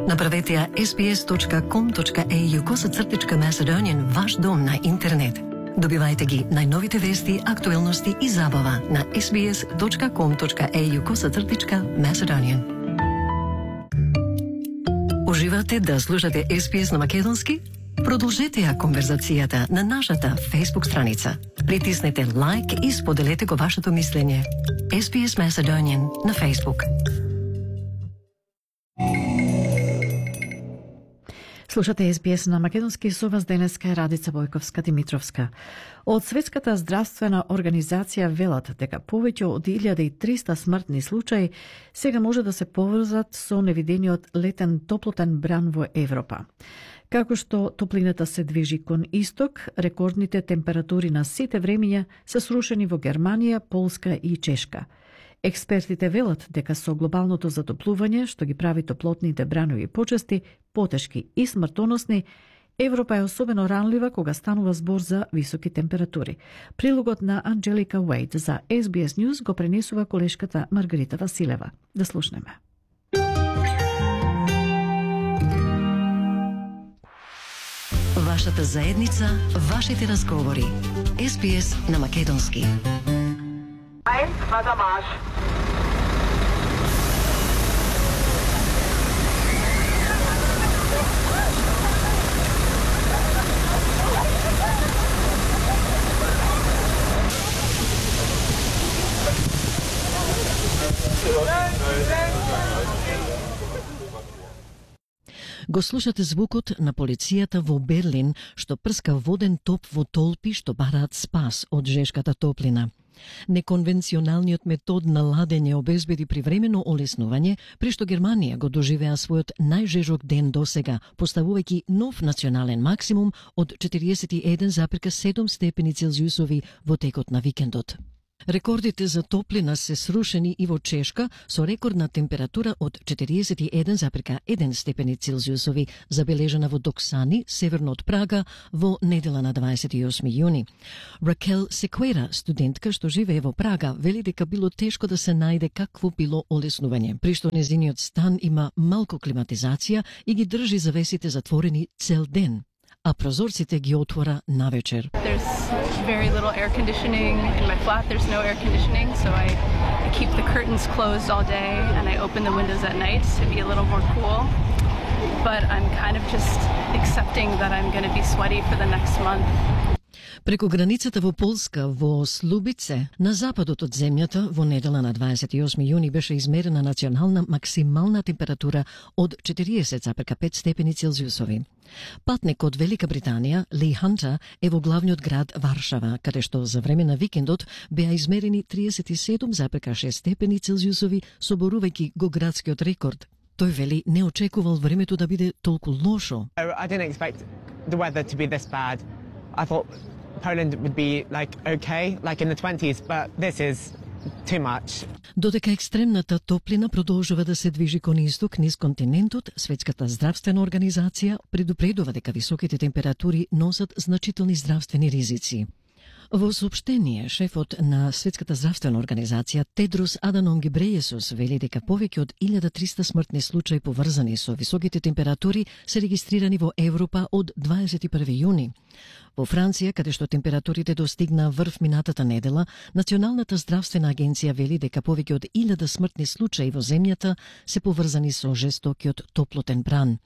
Направете ја sbs.com.au/Macedonian ваш дом на интернет. Добивајте ги најновите вести, актуелности и забава на sbs.com.au/Macedonian. Уживате да слушате SBS на македонски? Продолжете ја конверзацијата на нашата Facebook страница. Притиснете лайк и споделете го вашето мислење. SBS Macedonian на Facebook. Слушате SBS на македонски, со вас денеска е Радица Бојковска-Димитровска. Од Светската здравствена организација велат дека повеќе од 1300 смртни случаи сега може да се поврзат со невидениот летен топлотен бран во Европа. Како што топлината се движи кон исток, рекордните температури на сите времења се срушени во Германија, Полска и Чешка. Експертите велат дека со глобалното затоплување, што ги прави топлотните бранови почести потешки и смртоносни, Европа е особено ранлива кога станува збор за високи температури. Прилогот на Анджелика Уейд за SBS News го пренесува колешката Маргарита Василева. Да слушнеме. Вашата заедница, вашите разговори. SBS на македонски. Мадамаш. Го слушате звукот на полицијата во Берлин, што прска воден топ во толпи што бараат спас од жешката топлина. Неконвенционалниот метод на ладење обезбеди привремено олеснување, при што Германија го доживеа својот најжежок ден досега, поставувајќи нов национален максимум од 41,7 степени Целзиусови во текот на викендот. Рекордите за топлина се срушени и во Чешка со рекордна температура од 41,1 степени Целзиусови, забележана во Доксани, северно од Прага, во недела на 28 јуни. Ракел Секуера, студентка што живее во Прага, вели дека било тешко да се најде какво било олеснување, при што незиниот стан има малку климатизација и ги држи завесите затворени цел ден, а прозорците ги отвора навечер. There's very little air conditioning in my flat. There's no air conditioning, so I keep the curtains closed all day and I open the windows at night to be a little more cool. But I'm kind of just accepting that I'm going to be sweaty for the next month. Преку границата во Полска, во Слубице, на западот од земјата, во недела на 28 јуни беше измерена национална максимална температура од 40,5 степени Целзиусови. Патник од Велика Британија, Ли Хантер, е во главниот град Варшава, каде што за време на викендот беа измерени 37,6 степени Целзиусови, соборувајќи го градскиот рекорд. Тој вели не очекувал времето да биде толку лошо. I didn't expect the weather to be this bad. I thought Poland would be okay, in the 20s, but this is too much. Додека екстремната топлина продолжува да се движи кон исток низ континентот, Светската здравствена организација предупредува дека високите температури носат значителни здравствени ризици. Во соопштение, шефот на Светската здравствена организација Тедрос Аданом Гебрејесус вели дека повеќе од 1300 смртни случаи поврзани со високите температури се регистрирани во Европа од 21 јуни. Во Франција, каде што температурите достигна врв минатата недела, Националната здравствена агенција вели дека повеќе од 1000 смртни случаи во земјата се поврзани со жестокиот топлотен бран.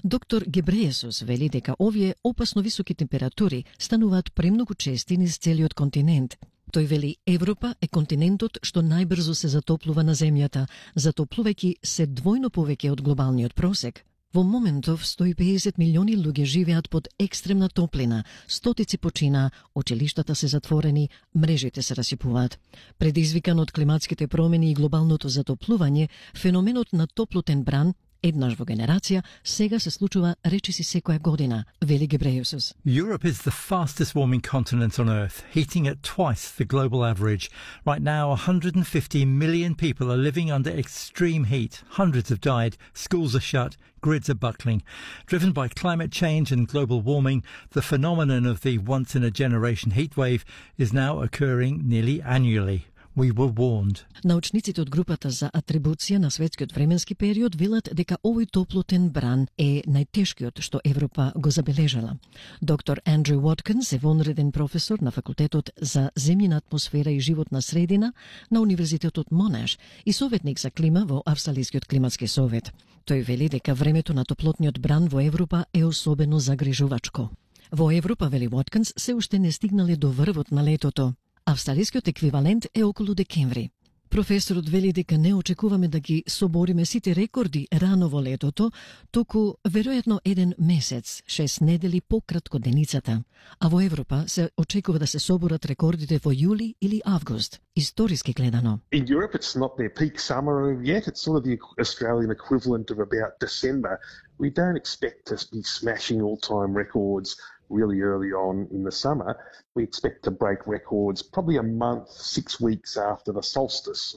Доктор Гебрејесус вели дека овие опасно високи температури стануваат премногу чести низ целиот континент. Тој вели Европа е континентот што најбрзо се затоплува на земјата, затоплувајќи се двојно повеќе од глобалниот просек. Во моментов 150 милиони луѓе живеат под екстремна топлина, стотици почина, училиштата се затворени, мрежите се расипуваат. Предизвикан од климатските промени и глобалното затоплување, феноменот на топлотен бран еднаш во генерација, сега се случува речиси секоја година, вели Гебрејесус. Europe is the fastest warming continent on Earth, heating at twice the global average. Right now, 150 million people are living under extreme heat. Hundreds have died, schools are shut, grids are buckling. Driven by climate change and global warming, the phenomenon of the once-in-a-generation heat wave is now occurring nearly annually. We were warned. Научниците од групата за атрибуција на светскиот временски период велат дека овој топлотен бран е најтешкиот што Европа го забележала. Доктор Андрю Watkins е вонреден професор на факултетот за земјина атмосфера и животна средина на Универзитетот Монаш и советник за клима во Австралискиот климатски совет. Тој вели дека времето на топлотниот бран во Европа е особено загрижувачко. Во Европа, вели Watkins, се уште не стигнале до врвот на летото. Австралискиот еквивалент е околу декември. Професорот вели дека не очекуваме да ги собориме сите рекорди рано во летото, туку веројатно еден месец, 6 недели пократко деницата. А во Европа се очекува да се соборат рекордите во јули или август, историски гледано. In Europe it's not their peak summer yet, it's sort of the Australian equivalent of about December. We don't expect to be smashing all-time records really early on in the summer. We expect to break records probably a month, 6 weeks after the solstice.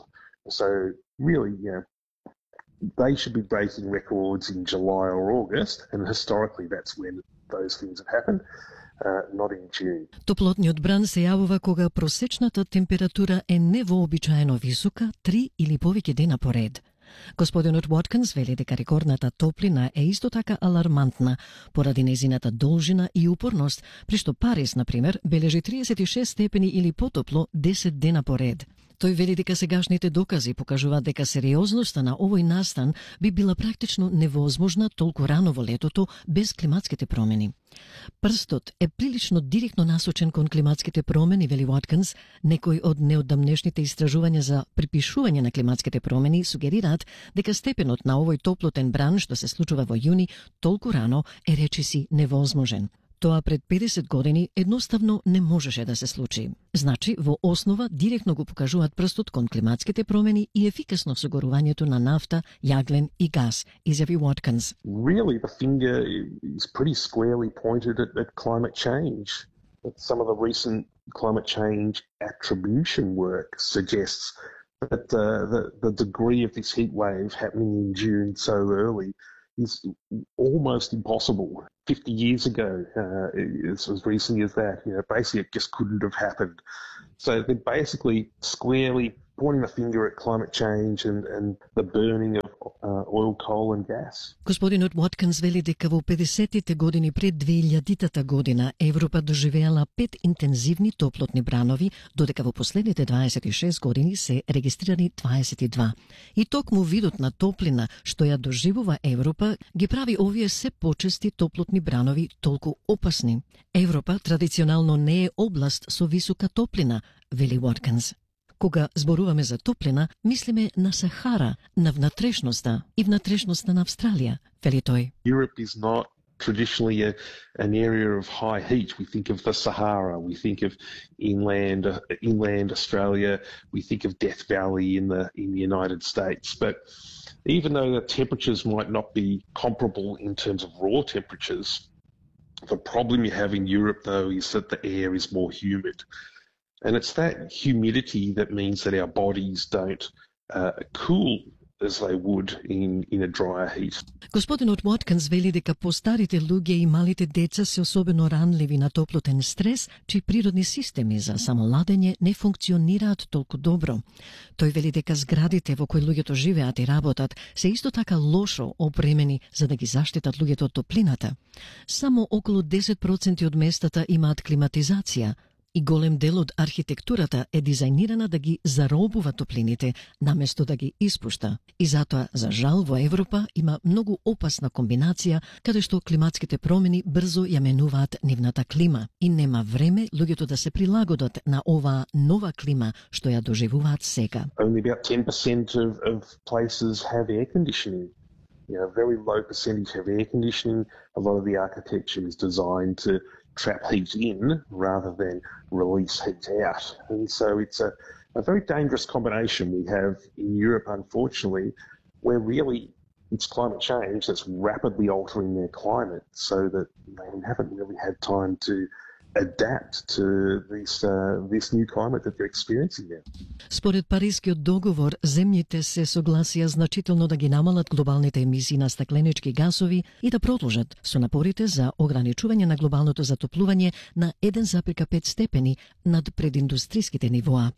So really, they should be breaking records in July or August, and historically that's when those things have happened, not in June. Топлотниот бран се јавува кога просечната температура е невообичаено висока 3 или повеќе дена поред. Господинот Watkins вели дека рекордната топлина е исто така алармантна поради незината должина и упорност, при што Париз, например, бележи 36 степени или потопло 10 дена поред. Тој вели дека сегашните докази покажуваат дека сериозноста на овој настан би била практично невозможна толку рано во летото без климатските промени. Прстот е прилично директно насочен кон климатските промени, вели Watkins. Некои од неодамнешните истражувања за припишување на климатските промени сугерираат дека степенот на овој топлотен бран што се случува во јуни толку рано е речиси невозможен. Тоа пред 50 години едноставно не можеше да се случи. Значи, во основа директно го покажуваат прстот кон климатските промени и ефикасно согорувањето на нафта, јаглен и газ, изјави Watkins. Really, the finger is pretty squarely pointed at climate change. Some of the recent climate change attribution work suggests that the degree of this heat wave happening in June so early is almost impossible. 50 years ago, it's as recently as that, basically it just couldn't have happened. So they're basically squarely pointing the finger at climate change and the burning of oil, coal and gas. Господинот Watkins вели дека во 50-тите години пред 2000-тата година Европа доживеала 5 интензивни топлотни бранови, додека во последните 26 години се регистрирани 22. И токму видот на топлина што ја доживува Европа ги прави овие се почести топлотни бранови толку опасни. Европа традиционално не е област со висока топлина, вели Watkins. Кога зборуваме за топлина, мислиме на Сахара, на внатрешноста и внатрешноста на Австралија, вели тој. Europe is not traditionally an area of high heat. We think of the Sahara, we think of inland Australia, we think of Death Valley in the United States. But even though the temperatures might not be comparable in terms of raw temperatures, the problem you have in Europe, though, is that the air is more humid. And it's that humidity that means that our bodies don't cool as they would in a drier heat. Господинот Watkins вели дека постарите луѓе и малите деца се особено ранливи на топлотен стрес, чии природни системи за самоладење не функционираат толку добро. Тој вели дека зградите во кои луѓето живеат и работат се исто така лошо опремени за да ги заштитат луѓето од топлината. Само околу 10% од местата имаат климатизација, и голем дел од архитектурата е дизајнирана да ги заробува топлините, наместо да ги испушта. И затоа, за жал, во Европа има многу опасна комбинација, каде што климатските промени брзо ја менуваат нивната клима и нема време луѓето да се прилагодат на оваа нова клима што ја доживуваат сега. Only about 10% of places have air conditioning. A very low percentage have air conditioning. A lot of the architecture is designed to trap heat in rather than release heat out. And so it's a very dangerous combination we have in Europe, unfortunately, where really it's climate change that's rapidly altering their climate so that they haven't really had time to adapt to this new climate that they're experiencing now. Според Парискиот договор, земјите се согласија значително да ги намалат глобалните емисии на стакленички гасови и да продолжат со напорите за ограничување на глобалното затоплување на 1,5 степени над прединдустриските нивоа.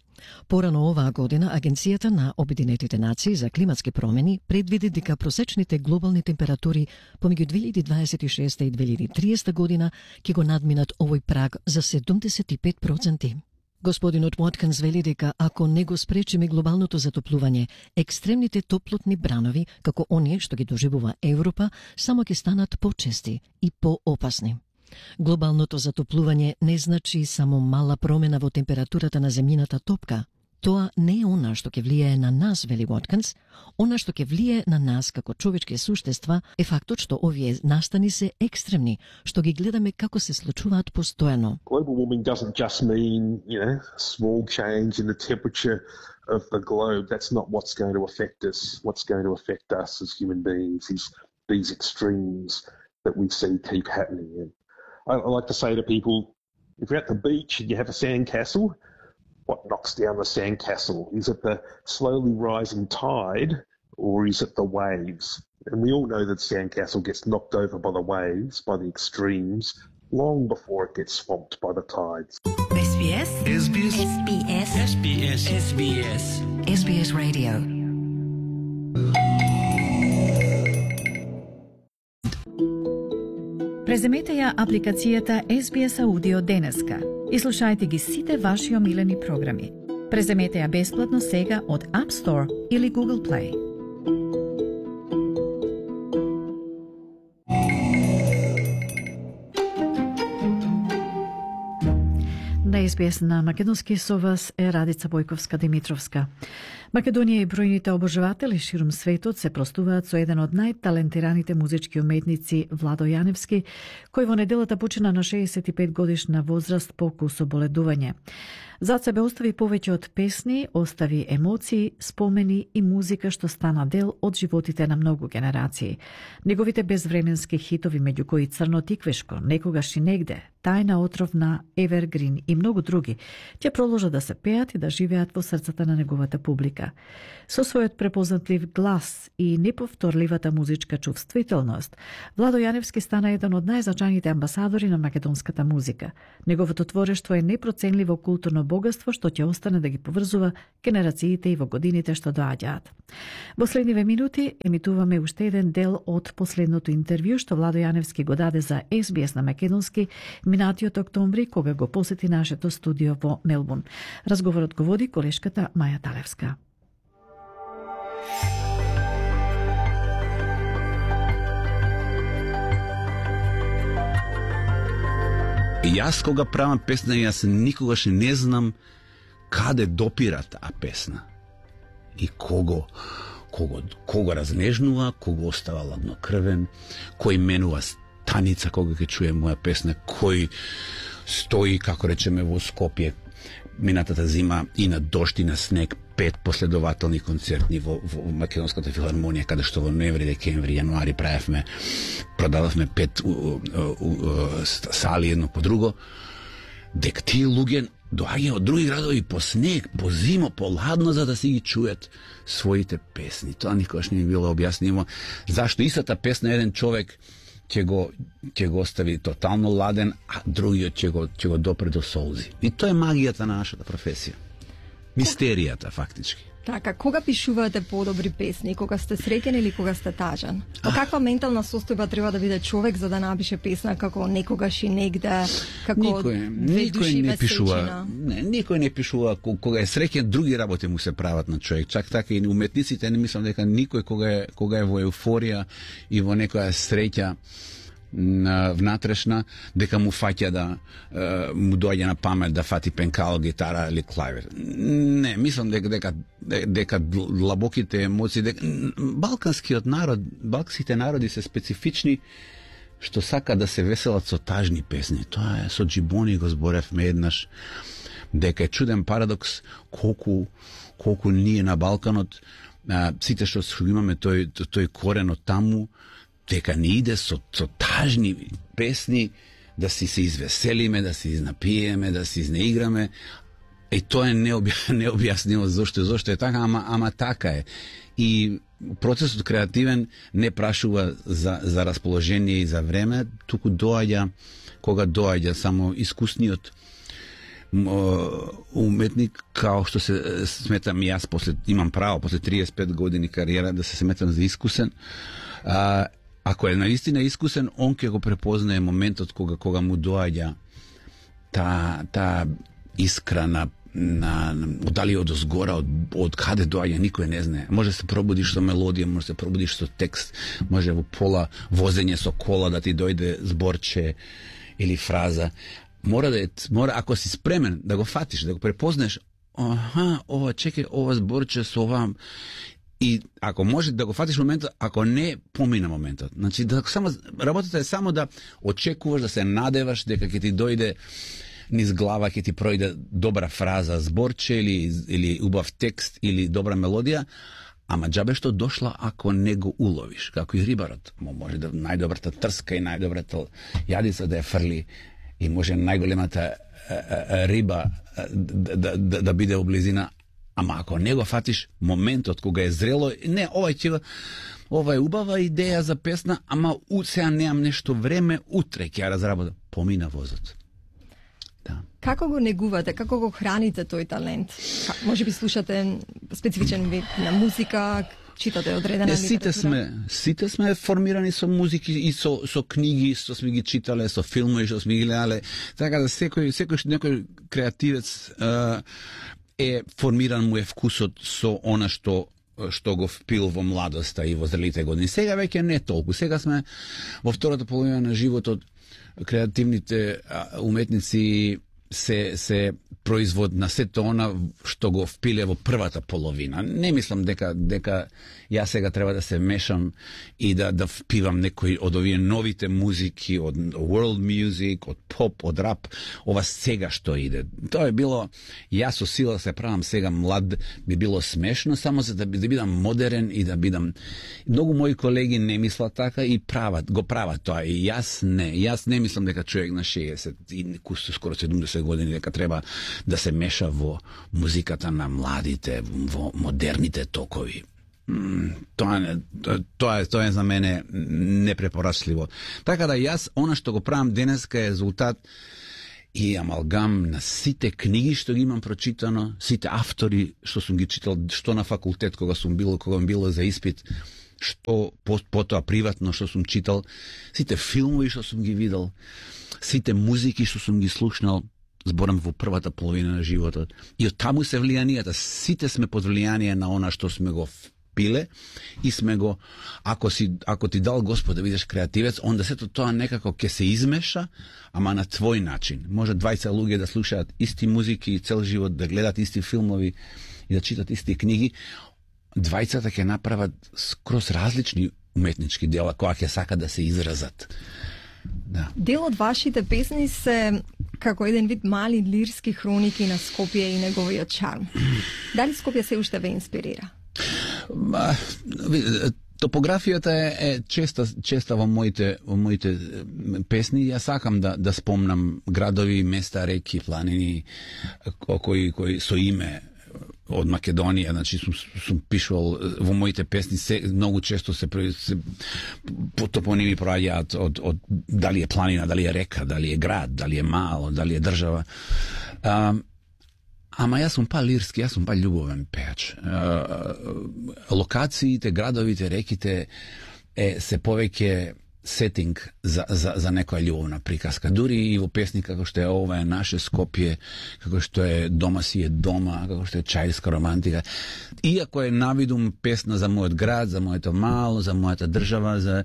Порано оваа година Агенцијата на Обединетите нации за климатски промени предвиди дека просечните глобални температури помеѓу 2026 и 2030 година ќе го надминат овој праг за 75%. Господинот Watkins вели дека ако не го спречиме глобалното затоплување, екстремните топлотни бранови, како оние што ги доживува Европа, само ќе станат почести и поопасни. Глобалното затоплување не значи само мала промена во температурата на земјината топка. Тоа не е она што ќе влијае на нас, вели Watkins. Она што ќе влијае на нас како човечки суштества е фактот што овие настани се екстремни, што ги гледаме како се случуваат постојано. Global warming doesn't just mean, small change in the temperature of the globe. That's not what's going to affect us. What's going to affect us as human beings is these extremes that we see keep happening. And I like to say to people, if you're at the beach and you have a sandcastle, what knocks down the sandcastle? Is it the slowly rising tide or is it the waves? And we all know that sandcastle gets knocked over by the waves, by the extremes, long before it gets swamped by the tides. SBS. SBS. SBS. SBS. SBS. SBS Radio. Преземете ја апликацијата SBS Audio денеска и слушајте ги сите ваши омилени програми. Преземете ја бесплатно сега од App Store или Google Play. На SBS на македонски со вас е Радица Бојковска-Димитровска. Македонија и бројните обожаватели ширум светот се простуваат со еден од најталентираните музички уметници Владо Јаневски, кој во неделата почина на 65 годишна возраст по кусоболедување. Зад себе остави повеќе од песни, остави емоции, спомени и музика што стана дел од животите на многу генерации. Неговите безвременски хитови, меѓу кои Црно тиквешко, Некогаш и негде, Тајна отровна, Evergreen и многу други, ќе продолжат да се пеат и да живеат во срцата на неговата публика. Со својот препознатлив глас и неповторливата музичка чувствителност, Владо Јаневски стана еден од најзначајните амбасадори на македонската музика. Неговото творештво е непроценливо културно богатство што ќе остане да ги поврзува генерациите и во годините што доаѓаат. Во следниве минути емитуваме уште еден дел од последното интервју што Владо Јаневски го даде за SBS на македонски минатиот октомври, кога го посети нашето студио во Мелбурн. Разговорот го води колешката Маја Талевска. Јас кога правам песна, јас никогаш не знам каде допира таа песна. И кого разнежнува, кого остава ладнокрвен, кој менува станица кога ќе чуе моја песна, кој стои, како речеме, во Скопје минатата зима и на дожд и на снег, 5 последователни концертни во Македонската филармонија, каде што во ноември, декември, јануари продававме 5 сали едно по друго, дека тие луѓе доаѓаат од други градови по снег, по зимо, по ладно, за да си ги чуят своите песни. Тоа никогаш не ми било објаснимо. Зашто истата песна еден човек ќе го остави тотално ладен, а другиот ќе го допре до солзи. И тоа е магијата на нашата професија. Мистеријата, фактички. Така, кога пишувате подобри песни? Кога сте среќен или кога сте тажен? Во каква ментална состојба треба да биде човек за да напише песна како Некогаш и негде, како Никој не пишува. Никој не пишува кога е среќен, други работи му се прават на човек. Чак така и уметниците, не мислам дека никој кога е во еуфорија и во некоја среќа внатрешна, дека му фаќа да му доаѓа на памет да фати пенкало, гитара или клавир. Не, мислам дека длабоките емоции, балканските народи се специфични што сака да се веселат со тажни песни. Тоа е со Джибони го зборевме еднаш, дека е чуден парадокс колку ние на Балканот сите што имаме тој корен од таму, дека не иде со тажни песни да си се извеселиме, да се изнапиеме, да се изнеиграме. И тоа е необјаснимо зошто е така, ама така е. И процесот креативен не прашува за расположение и за време, туку доаѓа кога доаѓа, само искусниот уметник, као што се сметам јас, имам право после 35 години кариера да се сметам за искусен. Ако е наистина искусен, он ќе го препознае моментот кога му доаѓа та искра на дали од озгора, од каде доаѓа, никој не знае. Може се пробудиш со мелодија, може се пробудиш со текст, може во пола возење со кола да ти дојде зборче или фраза. Мора, ако си спремен да го фатиш, да го препознаеш, чекај, ова зборче со ова. И ако може да го фатиш моментот, ако не, помина моментот. Значи, работата е само да очекуваш, да се надеваш дека ќе ти дојде низ глава, ќе ти пројде добра фраза, зборче или убав текст или добра мелодија, ама џабе што дошла ако не го уловиш, како и рибарот. Може да најдобрата трска и најдобрата јадица да ја фрли и може најголемата риба да биде облизина. Ама ако не го фатиш моментот кога е зрело, не, ова е убава идеја за песна, ама сега немам нешто време, утре ќе ја разработам. Помина возот. Да. Како го негувате, како го храните тој талент? Може би слушате специфичен вид на музика, читате одредена литература? Сите сме формирани со музики и со книги, што сме ги читале, со филмови што сме ги гледале. Така да некој креативец е формиран му е вкусот со она што го впил во младоста и во зрелите години. Сега веќе не толку. Сега сме во втората половина на животот. Креативните уметници се производ на сето она што го впиле во првата половина. Не мислам дека јас сега треба да се мешам и да впивам некои од овие новите музики, од world music, од поп, од рап, ова сега што иде. Тоа е било, јас со сила се правам сега млад, би било смешно, само за да бидам модерен и да бидам... Многу мои колеги не мислат така и го прават тоа. И јас не мислам дека човек на 60 и скоро 70 години дека треба да се меша во музиката на младите, во модерните токови. Тоа е за мене непрепорачливо. Така да јас, она што го правам денеска е резултат и амалгам на сите книги што ги имам прочитано, сите автори што сум ги читал, што на факултет кога било за испит, што потоа приватно што сум читал, сите филмови што сум ги видел, сите музики што сум ги слушнал, зборам во првата половина на животот. И од таму се влијанијата. Сите сме под влијание на она што сме го впиле и сме го... Ако ти дал Господ да бидеш креативец, онда сето тоа некако ќе се измеша, ама на твој начин. Може 20 луѓе да слушаат исти музики цел живот, да гледат исти филмови и да читат исти книги. 20 ќе направат скроз различни уметнички дела кои ќе сакат да се изразат. Да. Дел од вашите песни се како еден вид мали лирски хроники на Скопје и неговиот чарм. Дали Скопје се уште ве инспирира? Топографијата е честа во моите песни. Јас сакам да спомнам градови, места, реки, планини кои со име од Македонија, значи сум пишувал во моите песни, многу често се топоними проаѓаат од дали е планина, дали е река, дали е град, дали е мало, дали е држава. Ама јас сум лирски, јас сум љубовен пеач. Локациите, градовите, реките се повеќе сетинг за некоја љубовна приказка. Дури и во песни како што е ова е наше Скопје, како што е Дома си е дома, како што е Чаирска романтика. Иако е навидум песна за мојот град, за моето мало, за мојата држава,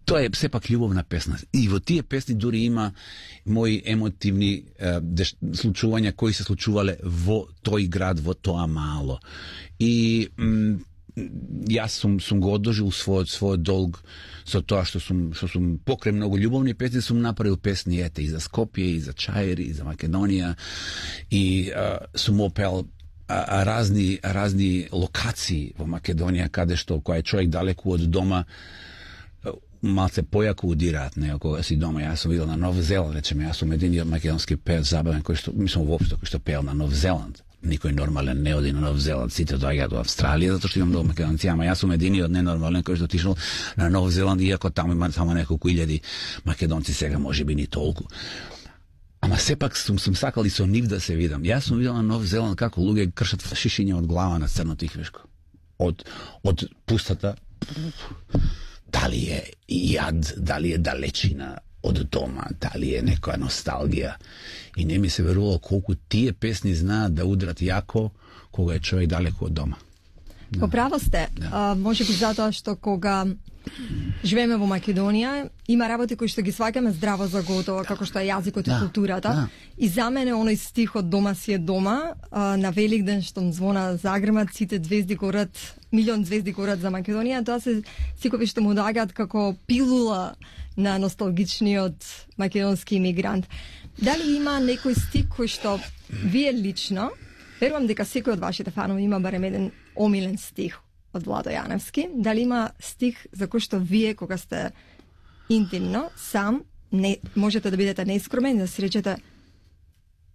тоа е сепак љубовна песна. И во тие песни дури има мои емотивни случувања кои се случувале во тој град, во тоа мало. И јас сум го одложил својот долг со тоа што сум покрај многу љубовни песни сум направил песни и за Скопје, и за Чаир, и за Македонија, и сум опел разни локации во Македонија каде што кој е човек далеку од дома малце појако удираат него кога си дома. Јас сум видел на Нов Зеланд, речеме, јас сум единиот македонски пеец забавен кој што мислам воопшто кој што пеел на Нов Зеланд. Никој нормален не оди на Нов Зеланд, сите доаѓаат во Австралија затоа што имам многу македонци, ама јас сум единиот ненормален кој што отишол на Нов Зеланд, иако таму има само неколку илјади македонци, сега можеби ни толку. Ама сепак сум сакал и со нив да се видам. Јас сум видел на Нов Зеланд како луѓе кршат шишиња од глава на црното ихвешко. Од пустата, дали е јад, дали е далечина од дома, дали е некоја носталгија. И не ми се верувало колку тие песни знаат да удрат јако кога е човек далеко од дома. Да. Поправо сте. Да. Може би затоа што кога живееме во Македонија, има работи кои што ги сваќаме здраво за готово, како што е јазикот и културата. Да. И за мене оној стих од дома си е дома, на Великден што звона загрмат, сите звезди горат, милион звезди горат за Македонија, тоа се секој што му доаѓаат како пилула на носталгичниот македонски имигрант. Дали има некој стих кој што вие лично, верувам дека секој од вашите фанови има барем еден омилен стих од Владо Јаневски, дали има стих за кој што вие кога сте интимно, сам, не можете да бидете неискромен, да си речете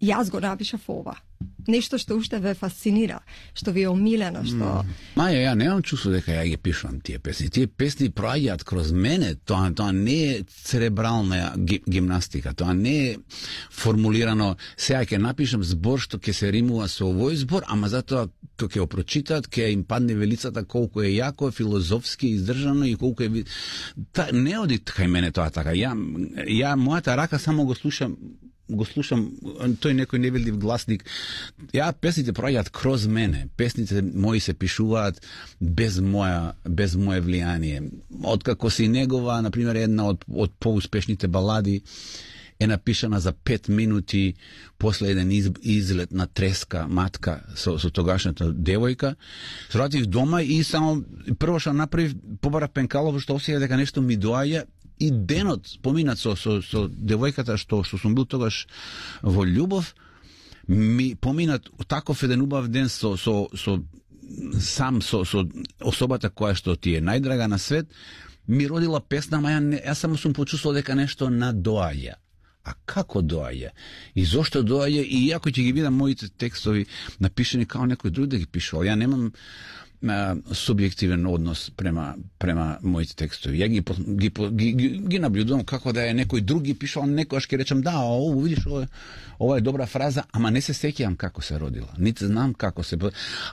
јас го напишав ова. Нешто што уште ве фасцинира, што ви е омилено, што... Маја, ја немам чувство дека ја ги пишувам тие песни. Тие песни проаѓаат кроз мене, тоа не е церебрална гимнастика, тоа не е формулирано, сега ќе напишам збор што ќе се римува со овој збор, ама затоа кога ќе го прочитаат, ќе им падне велицата колку е јако, филозофски издржано и колку е... Не оди кај мене тоа така. Ја мојата рака само го слушам, тој некој невидлив гласник. Ја песните проаѓаат кроз мене. Песните мои се пишуваат без мое влијание. Откако си негова, на пример, една од поуспешните балади е напишана за 5 минути после еден излет на треска матка со тогашната девојка. Сратив дома и само прво што направив, побара пенкалово што осеја дека нешто ми доаѓа. И денот поминат со девојката што сум бил тогаш во љубов, ми поминат таков еден убав ден со особата која што ти е најдрага на свет, ми родила песна, ама јас само сум почувствувал дека нешто надоаѓа. А како доаѓа? И зошто доаѓа? И ако ќе ги видам моите текстови напишани како некој друг да ги пишувал, ја немам субјективен однос према моите текстови. Ја ги наблюдувам како да е некој друг ги пишал, некојаш ќе речам да, видиш, ова е добра фраза, ама не се сеќавам како се родила. Нити знам како се,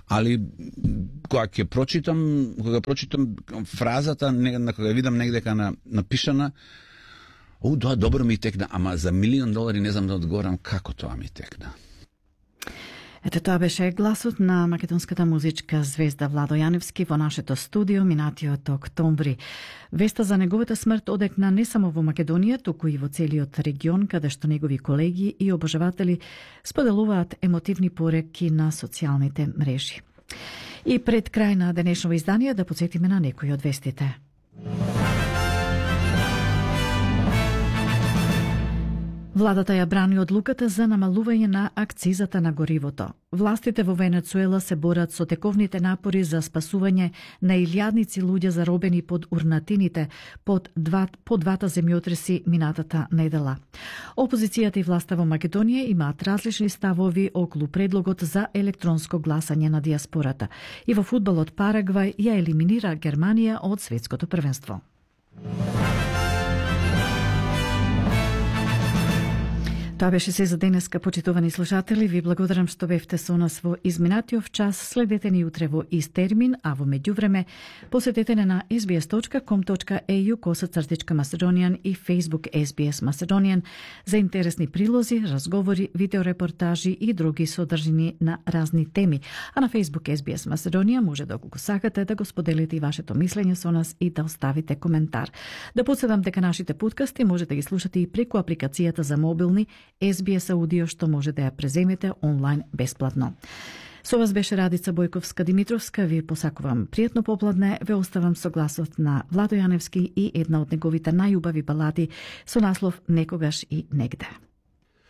али кога прочитам фразата, кога видам негдека напишана, тоа добро ми текна, ама за $1,000,000 не знам да одговорам како тоа ми текна. Ете, тоа беше гласот на македонската музичка звезда Владо Јаневски во нашето студио минатиот октомври. Веста за неговата смрт одекна не само во Македонија, туку и во целиот регион, каде што негови колеги и обожаватели споделуваат емотивни пореки на социјалните мрежи. И пред крај на денешното издание да потсетиме на некои од вестите. Владата ја брани одлуката за намалување на акцизата на горивото. Властите во Венецуела се борат со тековните напори за спасување на илјадници луѓе заробени под урнатините по двата земјотреси минатата недела. Опозицијата и власта во Македонија имаат различни ставови околу предлогот за електронско гласање на диаспората. И во фудбалот Парагвај ја елиминира Германија од светското првенство. Тоа беше се за денеска, почитувани слушатели. Ви благодарам што бевте со нас во изминатиот час. Следете ни утре во ист термин, а во меѓувреме посетете на sbs.com.au/Macedonian и Facebook SBS Macedonian за интересни прилози, разговори, видеорепортажи и други содржини на разни теми. А на Facebook SBS Macedonian може да го сакате да го споделите и вашето мислење со нас и да оставите коментар. Да подсетам дека нашите подкасти можете да ги слушате и преку апликацијата за мобилни SBS Audio, што може да ја преземете онлайн бесплатно. Со вас беше Радица Бојковска-Димитровска. Ви посакувам пријатно попладне. Ве оставам со гласот на Владо Јаневски и една од неговите најубави балади со наслов Некогаш и негде.